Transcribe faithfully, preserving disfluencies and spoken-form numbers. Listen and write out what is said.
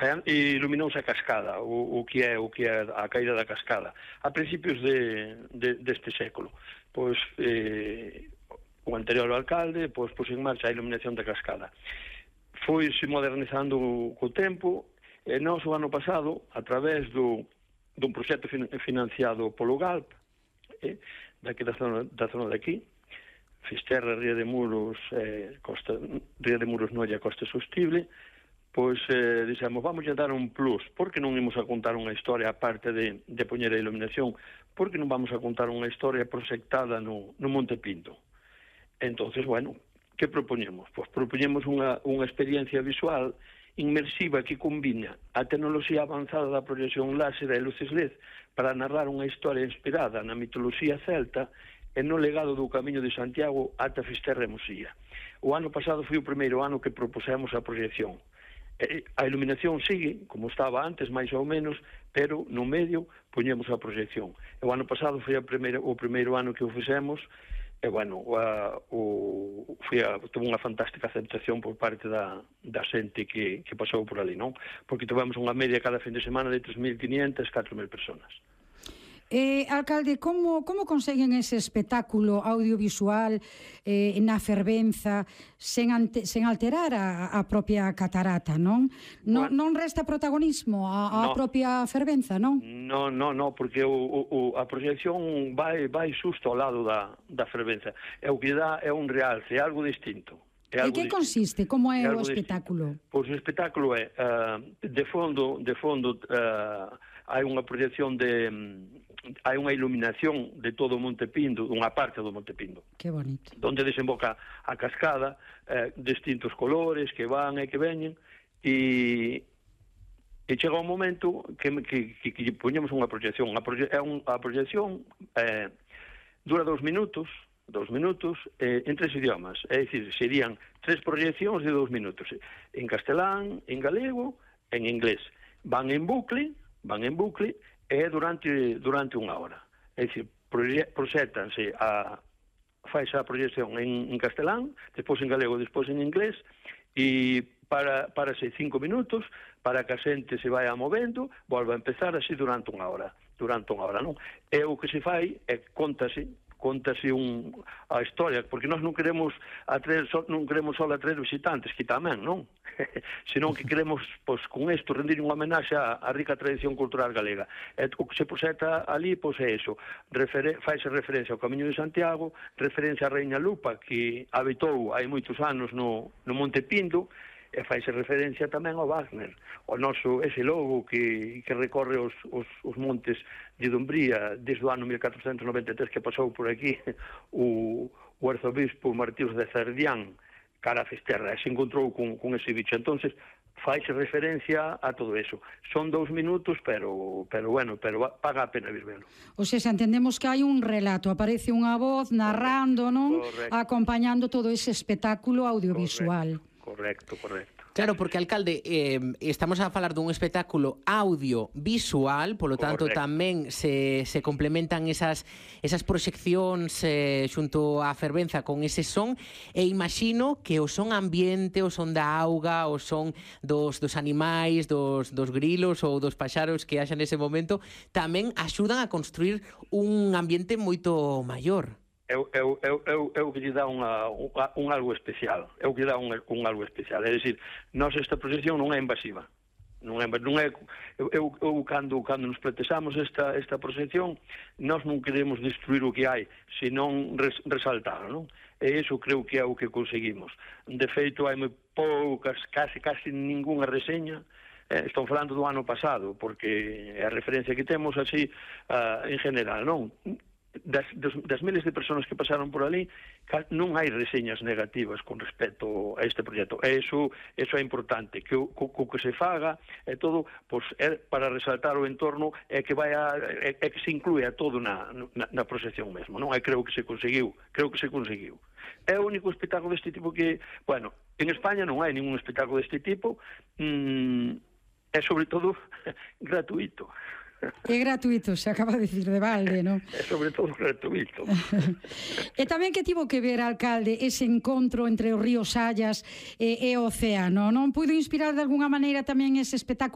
E iluminouse a cascada, o, o que é o que é a caída da cascada, a principios de, de, deste século. Pois eh, o anterior alcalde pois pus en marcha a iluminación da cascada. Foi-se modernizando co tempo, e nós o ano pasado, a través do, dun proxecto fin, financiado polo Galp, eh, daqui da zona, da zona de aquí, Fisterra, Ría de Muros, eh, Costa, Ría de Muros Noia, Costa Sostible, pois eh, dixemos, vamos a dar un plus, porque non imos a contar unha historia aparte de, de poñer a iluminación, porque non vamos a contar unha historia proxectada no, no Monte Pinto. Entonces, bueno, que propoñemos? Pois propoñemos unha, unha experiencia visual inmersiva que combina a tecnoloxía avanzada da proyección láser e luces L E D para narrar unha historia inspirada na mitoloxía celta e no legado do Camiño de Santiago ata Fisterra e Mosía. O ano pasado foi o primeiro ano que propusemos a proyección. A iluminación sigue, como estaba antes, máis ou menos, pero no medio poñemos a proxección. O ano pasado foi a primeira, o primeiro ano que o fixemos, e, bueno, a, o, foi a, tuvo unha fantástica aceptación por parte da, da xente que, que pasou por ali, non? Porque tivemos unha media cada fin de semana de tres mil quinhentas, catro mil personas. Eh, alcalde, como, como conseguen ese espectáculo audiovisual eh, na fervenza sen, ante, sen alterar a, a propia catarata, non? Non, bueno, non resta protagonismo a, a no. propia fervenza, non? Non, non, non, porque o, o, a proxección vai, vai xusto ao lado da, da fervenza. É o que dá, é un realce, é algo distinto. É algo e que distinto. Consiste? Como é, é o espectáculo? Distinto. Pois o espectáculo é, uh, de fondo, de fondo uh, hai unha proxección de... Um, hai unha iluminación de todo o Monte Pindo, unha parte do Monte Pindo. Que bonito. Donde desemboca a cascada, eh, distintos colores que van e que veñen, e, e chega un momento que, que, que, que poñemos unha proxección. A, proye, é un, a proxección eh, dura dos minutos, dos minutos eh, en tres idiomas. É dicir, serían tres proxeccións de dos minutos. En castelán, en galego, en inglés. Van en bucle, van en bucle, é durante durante unha hora. É dicir, proxétanse a faz a proxección en, en castelán, despois en galego, despois en inglés, e para para ser cinco minutos, para que a xente se vaya movendo, volva a empezar así durante unha hora, durante unha hora, non? E o que se fai é contase contase un, a historia, porque nós non queremos atraer, non queremos só atraer visitantes, que tamén, non? Senón que queremos, pois, con isto, rendir unha homenaxe á, á rica tradición cultural galega. E o que se proxecta ali, pois, é iso. Referen faise referencia ao Camiño de Santiago, referencia á Reina Lupa, que habitou hai moitos anos no, no Monte Pindo, e faise referencia tamén ao Wagner, o noso, ese lobo que, que recorre os, os, os montes de Dumbría desde o ano mil catrocentos noventa e tres que pasou por aquí o, o arzobispo Martínez de Cerdián cara a Fisterra, e se encontrou con, con ese bicho. Entonces faise referencia a todo eso. Son dous minutos, pero, pero bueno, pero paga a pena vir velo. O sea, se entendemos que hai un relato, aparece unha voz narrando, non? Correcto. Acompañando todo ese espectáculo audiovisual. Correcto. Correcto, correcto. Claro, porque, alcalde, eh, estamos a falar dun espectáculo audiovisual, polo tanto, correcto, tamén se, se complementan esas, esas proxeccións eh, xunto á fervenza con ese son, e imagino que o son ambiente, o son da auga, o son dos, dos animais, dos, dos grilos ou dos paxaros que haxa nese momento, tamén axudan a construir un ambiente moito maior. É o que lle dá unha, un, un algo especial, é o que lle dá un, un algo especial. É dicir, nós esta proxección non é invasiva. Non é, non é, eu, eu, eu cando, cando nos pretexamos esta, esta proxección, nós non queremos destruir o que hai, senón res, resaltar, non? E iso creo que é o que conseguimos. De feito, hai moi poucas, casi, casi ningunha reseña. Eh, estou falando do ano pasado, porque é a referencia que temos así uh, en general, non? Das, das, das miles de persoas que pasaron por ali, non hai reseñas negativas con respecto a este proxecto. E iso, iso é importante, que o, co, co que se faga é todo, pois, é para resaltar o entorno, é que vai a, é, é que se inclúe a todo na, na, na proxección mesmo, non? E creo que se conseguiu, creo que se conseguiu. É o único espectáculo deste tipo que, bueno, en España non hai ningún espectáculo deste tipo, mmm, é sobre todo gratuito. É gratuito, se acaba de dicir de balde, non? É sobre todo gratuito. E tamén que tivo que ver, alcalde, ese encontro entre os ríos Sallas e, e o océano, non? Puido inspirar de alguna maneira tamén ese espectáculo